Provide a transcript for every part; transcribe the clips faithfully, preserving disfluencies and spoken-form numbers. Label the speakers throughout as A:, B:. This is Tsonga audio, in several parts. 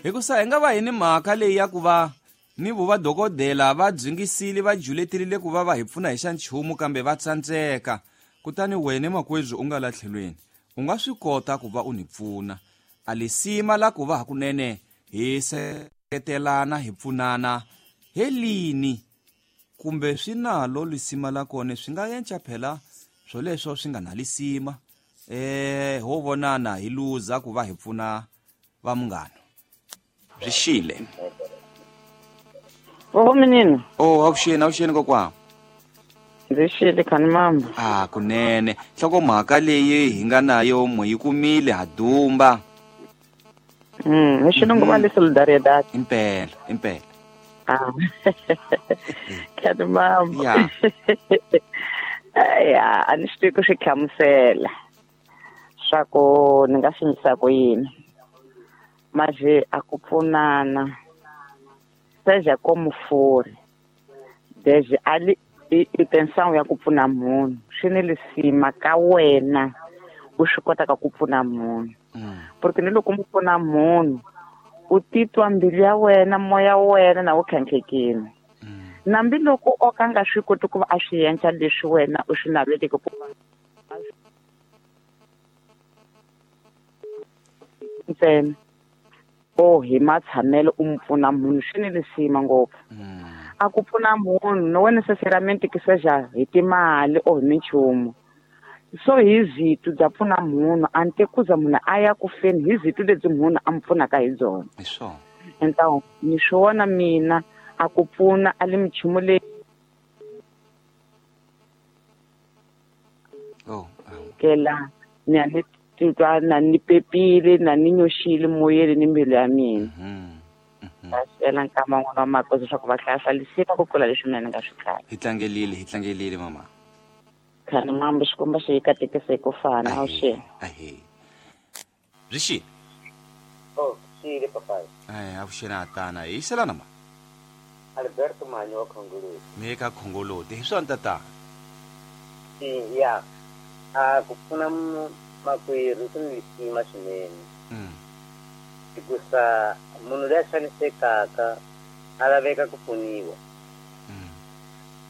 A: Hikusa hi nga va hi ni mhaka leyi ya ku va ni vo vadokodela va dzungisile va juleterile ku va va hi pfuna hi xa nchumu kambe va tsandzeka. Kutani wena makwedzi u nga latlhelweni u nga swi kota ku va u ni pfuna. A lisima la ku va hakunene hi seketelana hi pfunana helini kumbe swi nalo lisima la kona swi nga yenca phela swoleswo swi nga na lisima eh ho vonana hi luza ku va hi pfuna va munghana. Byi xile.
B: Oho menino.
A: Oh avuxeni avuxeni kokwana.
B: Ndzi xile khani mama.
A: Ah kunene nhlokomhaka leyi hi nga nayo mo yi kumile ha dumba.
B: Mm, hi xilungu va le solidaridad.
A: Impela, impela.
B: Ah. Khani mama.
A: Ya.
B: Ya, a ni swi tivi ku swi hlamusela swa ku ni nga swi endlisa ku yini. Manje a ku pfunana seja como for desde ali intenção ya ku pfuna munhu swi ni lisima ka wena u swi kotaka ku pfuna munhu. Porque ni loko mu pfuna munhu u titwa mbilu ya wena moya wa wena na wu khankhekile. Nambi loko o ka nga swi koti ku va a swi endla leswi wena u swi naveleke ku ntsena o hi matshamelo u mu pfuna munhu swi ni lisima ngopfu. A ku pfuna munhu no wena necessariamente que seja hi timali or hi minchumu. So hi zito bya pfuna munhu a ni tekuza munhu a ya ku feni hi zito lebyi munhu a mu pfunaka hi byona.
A: Hi swona.
B: Então ni swi vona mina a ku pfuna a le minchumu leyi
A: oh
B: kela ni a ni titwa na ni pepile na ni nyoxile moyeni ni mbilu ya mina. Kasela nkama n'wana wa makosi leswaku va hlaya lisima ku tlula leswi mina ni nga swi tlanga.
A: Hi tlangelile hi tlangelile mama.
B: Khani mama xikomba xi yi katekise ku fana a wu xi.
A: Ahe. Byi xi.
C: Oh, xile papai.
A: Ai, a vuxena tana hi selana ma.
C: Alberto Manyo wa Khongoloti.
A: Me ka Khongoloti hi swona tata.
C: Ya. A ku pfuna makwerhu ku ni lisima swinene.
A: Mm.
C: Hikusa munhu loyi a xanisekaka a laveka ku pfuniwa.
A: Mm.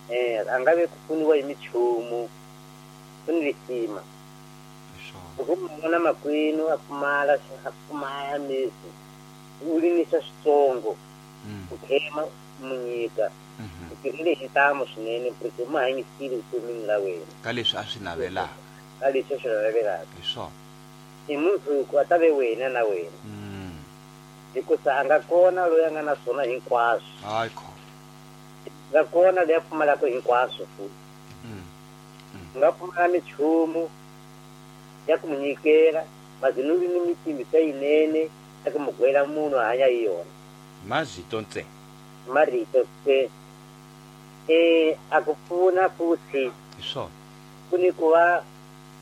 C: Eh, a nga ve ku pfuniwa hi minchumu ku ni lisima. Loko mu vona makwenu a pfumala a pfumala misi u limisa switsongo u khema mu nyika u tirhile hi ntamu swinene porque u hanyisile vutomini la wena
A: ka leswi a swi navelaka.
C: Ka leswi a swi navelaka.
A: Hi swona.
C: Hi mundzuku a ta ve wena na wena.
A: Mm.
C: Hikusa a nga kona loyi a nga na swona hinkwaswo.
A: Hayi kho.
C: Nga kona loyi a pfumalaka hinkwaswo futhi.
A: Mm.
C: U nga pfumala minchumu ya ku mu nyikela mazinuli ni mitimisa yinene ya ku mu gwela munhu a hanya hi yona.
A: Mazito ntsena.
C: Marito se. Eh, a ku pfuna futhi.
A: Hi swona.
C: Ku ni ku va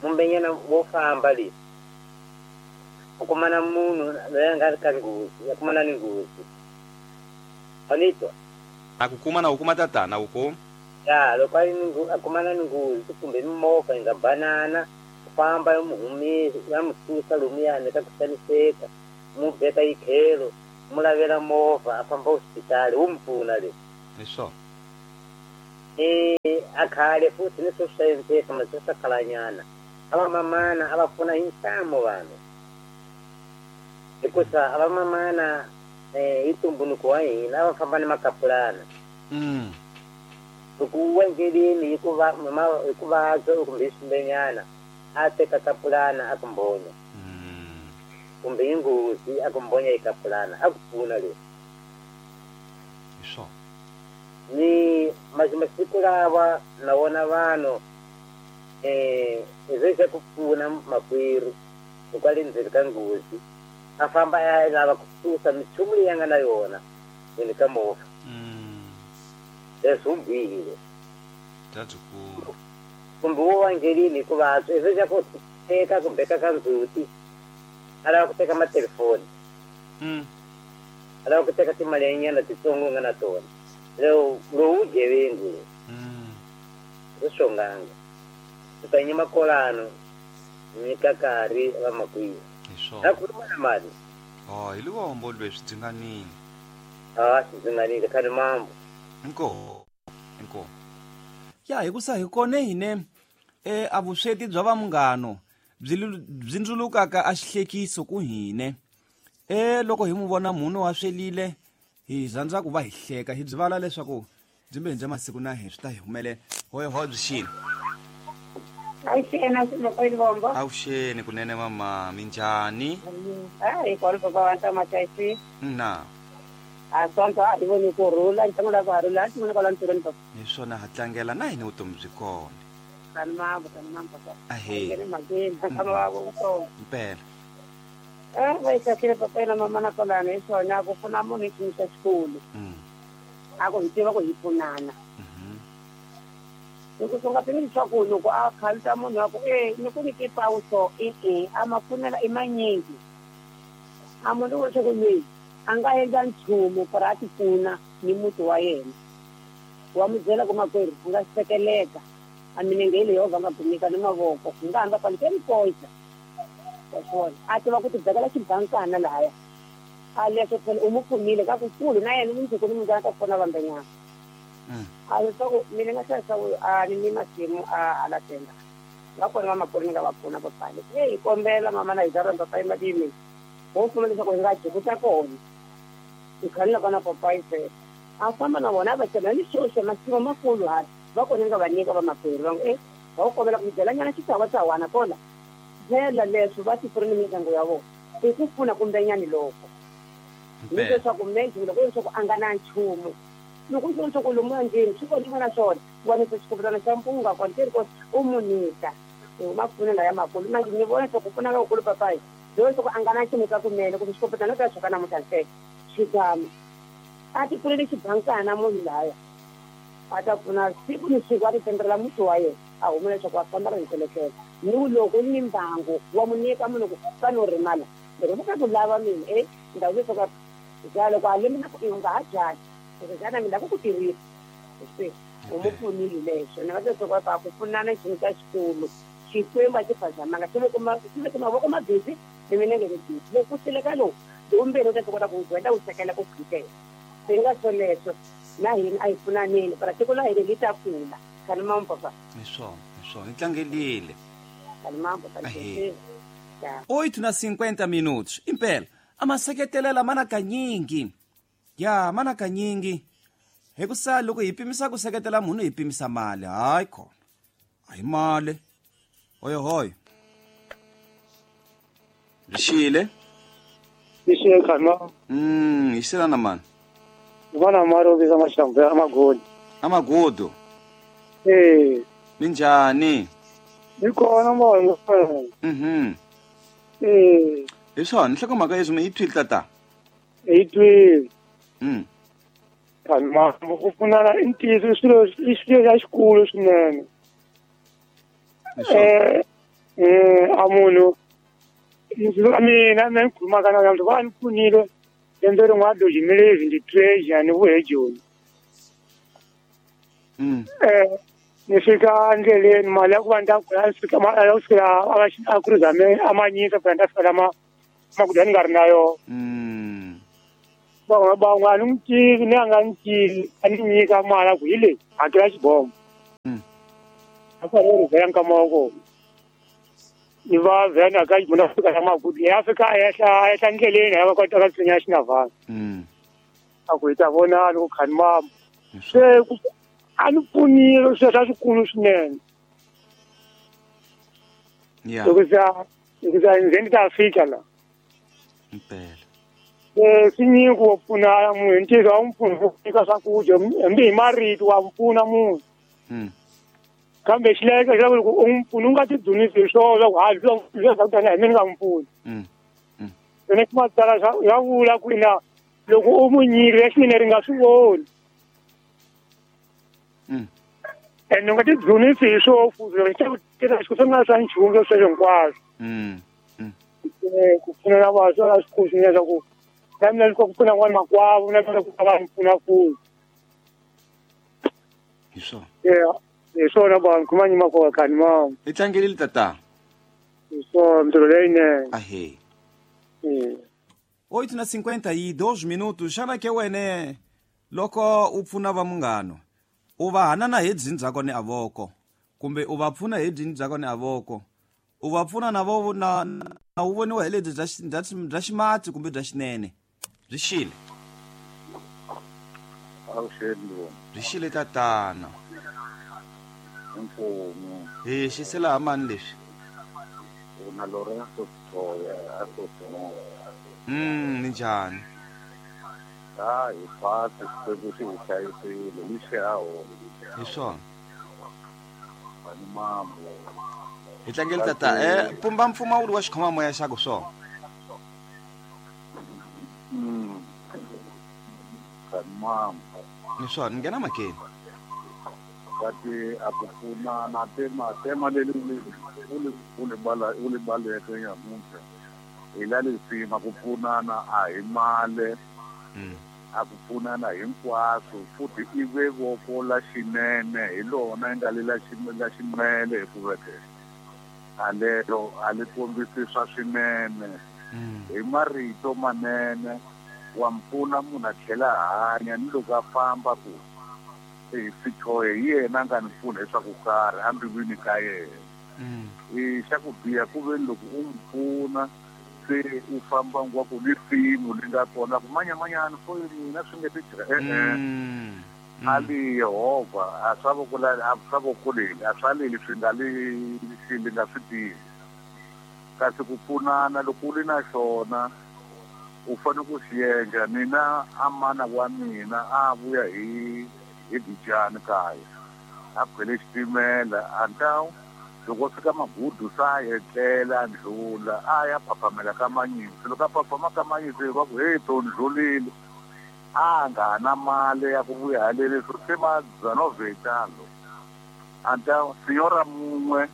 C: mumbenyana wo famba le. U kumana munhu loyi a nga ri ka nghozi, a kumana ni nghozi. Anitwa.
A: A ku kuma na u kuma tatana u kuma.
C: Ya, loko a ri ni a kumana ni nghozi kumbe mimovha yi nga banana, u famba ya mu humesa, ya mu susa lomuyani ka ku xaniseka, mu beka yi tlhelo, mu lavela movha a famba hospitali wu mu pfuna le.
A: Hi swona.
C: Eh, a khale futhi ni swo swa endleka mase swa khalanyana. A va mamana a va pfuna hi ntamu vanhu. Hikusa a va mamana eh hi ntumbuluko wa hina a va famba ni makapulana.
A: Mm.
C: Loko u endleleni hi ku va hi ku vabya kumbe hi swimbenyana a teka kapulana a ku mbonya.
A: Mm.
C: Kumbe hi nghozi a ku mbonya hi kapulana a ku pfuna le.
A: Hi swona.
C: Ni masiku lawa na vona vanhu eh ezwe ku pfuna makwerhu loko a le ndzeni ka nghozi a famba a lava ku susa minchumu leyi a nga na yona ndzeni ka movha.
A: Mm.
C: Leswi wu bihile.
A: Bya
C: Kumbe wo wa endleleni hikuva ezwe xa ku teka ku beka ka ndzhuti a lava ku teka matelefoni.
A: Mm.
C: A lava ku teka timali nyana titsongo u nga na tona. Lowu lowu vugevenga.
A: Mm.
C: Swi swonganga. U ta nyima kolano nyika nkarhi va makwihi.
A: Hi swona.
C: Na ku na mali.
A: Oh, hi luvombo lweswi byi nga nini.
C: Ah, swi nga nini khani mambo.
A: Inkomu. Inkomu. Ya hi ku sa hi kone hine eh a vusweti bya va munghano byi byi ndzulukaka a xihlekiso ku hine. Eh loko hi mu vona munhu wa swelile hi rhandza ku va hi hleka hi byi vala leswaku byi mbe bya masiku na hi swi ta hi humelela. Hoy hoy byi xini.
D: Avuxeni makwenu Vombo.
A: Avuxeni kunene mama, minjhani?
D: Ah, hi kona papa wa nta machaisi.
A: Na.
D: A sonto a hi voni ku rhula, ntlanga la ku rhula, a ti kwala ntirhweni papa.
A: Hi swona ha tlangela na hina vutomi byi kona.
D: Tani mambo, tani mambo papa.
A: Ahee.
D: Ngene mhakeni, tshama wa vutomi.
A: Impela.
D: Eh, va yi kahlile papa yena mama na kolana hi swona ku pfuna munhu hi xiyimo xa xikulu.
A: Mm.
D: A ku hi tiva ku hi pfunana. Loko swi nga pimeli leswaku loko a khaluta munhu wa ku e ni ku nyike pawuso e-e a ma pfunela i manyingi a munhu wo leswaku loyi a nga endla nchumu for a ti pfuna ni muti wa yena wa mu byela ku makwerhu a nga sekeleka a milenge hi leyi Yehovha a nga kumika ni mavoko hi nga hamba kwale mikoxa wa swona a tiva ku ti bekela xibankana lahaya a leswo phela u mu pfunile ka kukulu na yena mundzuku ni mundzuku a ta pfuna vambenyana. A leswaku mina nga hlayisa a ni ni masimu a ala tenda nga kona vamakwerhu ni nga va pfuna papali e hi kombela mama na hi za rhandza payi madimi ho pfuna leswaku hi nga dyi ta kona hi khanela kona papayi fela a famba na vona a va cela ni xoxa masimu makulu hala va kona nga va nyika vamakwerhu va ngo e va ku kombela ku byelanyana xitsawatswana kona byela leswo va ti pfuna ni mindyangu ya vona i ku pfuna kumbenyani loko ni leswaku meji loko leswaku a nga na nchumu loko u leswaku lomu endleni swi kona na swona wa ni xikopetana xa mpunga kwanteri ko u munyika ma pfunela ya makulu manje ni vona leswaku pfuna ka kulu papayi loko leswaku a nga na nchumu ka kunene kumbe xikopetana ta xoka namuntlha ntsena xigama a ti pfulele xibankana munhu laya a ta pfuna siku ni siku a ti tendrela muti wa yena a huma leswaku a famba ra ntelekela ni loko ni mbangu wa mu nyika munhu ku fane u rimala loko ni ka ku lava mina e ndhawu leswaku ja loko a limi na ku i nga ha byali xana mina ku ku tirhisa se u mu pfunile leswo ni nga leswaku a ku pfunana xilo xa xikulu Xikwembu a xi phazamanga xi veke xi veke mavoko mabisi ni milenge mibisi loko ku sileka lowu lowumbirhi u ta kota ku gwenda wu sekela ku khutela swi nga swoleswo na hina a hi pfunaneni para tiko la hina li ta kula khani mambo papa.
A: Hi swona, hi swona hi tlangelile.
D: Khani mambo papa.
A: Oito na cinquenta minutos. Impela a maseketelela mana kanyingi. Ya mana kanyingi hi ku sa loko hi pimisa ku seketela munhu hi pimisa mali hayi khona a hi mali hoyo hoyo rixile
E: rixile khana
A: mm hi xilana mani
E: vana mari visa maxambu ya amagodi
A: amagodo
E: eh
A: minjhani
E: ni kona moya
A: mhm
E: eh
A: hi swona nhlokomhaka leswi mi yi twile tata
E: hi twile.
A: Mm.
E: Khani ku pfunana i ntiyiso i swilo i swilo xa xikulu swinene. Eh eh a munhu mina mina ni khulumaka na vanhu va ni pfunile lembe rin'wana dojimile ndi treasure ni vuye Joni.
A: Mm.
E: Eh ni fika endleleni mali ya ku va ni ta ku fika ya ku fika a ku ri zame a ma nyika ku ta fika lama makudya ni nga ri na yona.
A: Mm.
E: Van'wana van'wana a ni n'wi tivi ni a nga ni tivi a ni nyika mali a ku hi leyi hakela xibomo.
A: Mm.
E: A fanele ri vhela nkama wa kona ni va vhela ka munhu a fika la magudu ya fika a ehla a ehla ndleleni ya va kota ka tshinya xinavhana.
A: Mm.
E: A ku hi ta vonana ku khani mama se a ni pfunile swilo swa swikulu swinene.
A: Yeah.
E: Loko za loko za nze ni ta fika la.
A: Impela.
E: Eh swi nyiko wo pfuna munhu hi ntiyiso wa n'wi pfuna ku nyika swakudya hambi hi marito wa n'wi pfuna munhu.
A: Mm.
E: Kambe xilaveko xa loko u n'wi pfuna u nga tidzunisi hi swona swa ku ha leswi swa ku tani hi mina ni nga n'wi pfuni.
A: Mm. Mm.
E: Ene matsalwa swa ya vula ku ina loko u n'wi nyika xinene ri nga swi voni.
A: Mm.
E: Ene u nga tidzunisi hi swoho futhi swi nga swa nchumu sweswo hinkwaswo.
A: Mm. Mm.
E: Ku pfuna na vanhu swi swikulu swinene swa ku na mina ku pfuna n'wana makwavo na mina ku va n'wi pfuna futhi.
A: Hi swona.
E: Yeah. Hi swona vanhu khuma nyima kona khani mama.
A: Hi tlangelile tata.
E: Hi swona mintirho leyinene.
A: Ahee.
E: Mm.
A: Oito na cinquenta e dois minutos. Xana ke wene loko u pfuna va munghano u va hanana hi byini bya kona avoko kumbe u va pfuna hi byini bya kona avoko u va pfuna na vo na na u voniwa hi lebyi bya bya bya ximatsi kumbe bya xinene. Byi xile.
F: Avuxeni.
A: Byi xile tatana.
F: Inkomu.
A: Hi xisela ha mani leswi?
F: Una Lorenzo Toya a Sotho.
A: Mm, ninjhani?
F: Ah, hi pasi Xikwembu xi hi hlayisile hi xaho.
A: Hi swona.
F: Vanhu mambo.
A: Hi tlangele tata eh pumba mpfumawulo wa xikhomamoya xa ku swona.
F: Mm. Vanhu mambo.
A: Ni swona, ni nghena makeni.
F: Kati a ku pfuna na tema tema leri u li u li bala u li baleke nyamuntlha. Hi la lisima ku pfunana a hi male. A ku pfunana hinkwaswo futhi i ve voko la xinene hi lona nga le la la ximele hikuva ke a lero a li kombisi swa swinene. Hi marito manene wa mpfuna munhu a tlhela a hanya ni loko a famba ku e sithoye hi yena a nga ni pfuna leswaku karhi embilwini ka yena. E xa ku biha ku ve loko u n'wi pfuna se u famba ngwa ku ni simu li nga kona ku manyamanyana fo mina swi nge ti e-e a li Yehovha a swa voko la a swa voko leli a swa leli swi nga li xi li nga swi tivi. Kasi ku pfunana loko u ri na xona u fanele ku xi endla. Mina a mana wa mina a vuya hi hi Bijani kaya a khwele xitimela a ntawu loko fika magudu sa etlela ndlula a ya phaphamela ka manyisi loko a phaphama ka manyisi va ku hey to ndlulile a nga na mali ya ku vuya halele swo se ma dzanovetalo a nta signora mun'we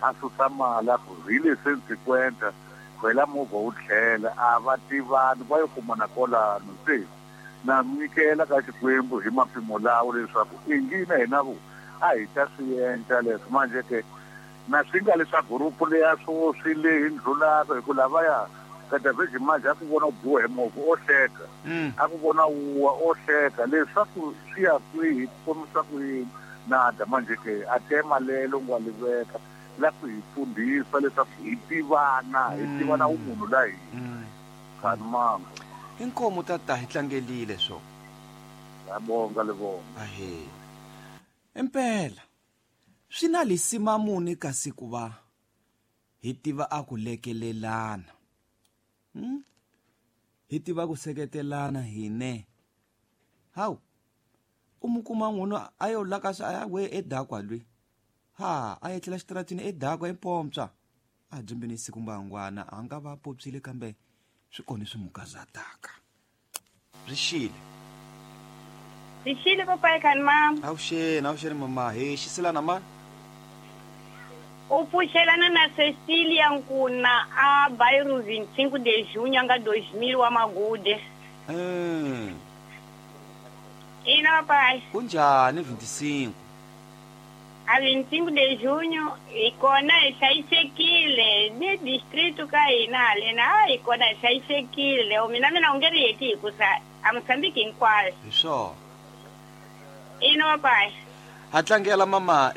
F: a susa mali a ku hi le cent cinquanta khwela movha wu tlhela a va tivani va yo kumana kolano se na nyikela ka Xikwembu hi mapimo lawo leswaku ingina hina vo a hi ta swi endla leswi manje ke na swi nga leswaku gurupu leya swo swi leyi ndlulaka hi ku lavaya ka David manje a ku vona u biwa hi movha o hleka a ku vona wuwa o hleka leswaku swi ya kwihi ku kombisa ku yini nada manje ke a tema lelo ngwa li veka la ku hi fundhisa leswaku hi tivana hi tivana wu munhu la hina khani mambo.
A: Inkomo tata hi tlangelile swo.
F: Ngiyabonga lebonga.
A: Ahe. Impela swi na lisima muni kasi ku va hi tiva a ku lekelelana. Hmm? Hi tiva ku seketelana hine. Hawu. U mu kuma n'wunu a yo laka a ya we edakwa lwi. Ha, a etlela xitaratini edakwa empompsa. A dyimbini siku mbangwana a nga va popsile kambe swi kona swi mukazataka. Byi xile.
G: Byi xile papai khani mama.
A: Avuxeni, avuxeni mama. Hi xisilana ma?
G: U pfuxelana na Cecilia Nkuna a bairro vinte e cinco de junho anga dois mil wa Magude.
A: Mm.
G: Ina papai.
A: Kunjani vinte e cinco?
G: A vinte e cinco de junho hi kona hi hlayisekile ni distrito ka hina halena hi kona hi hlayisekile mina mina u nge ri heti hikusa a Mozambique hinkwayo.
A: Hi swona.
G: Ina papai.
A: Ha tlangela mama.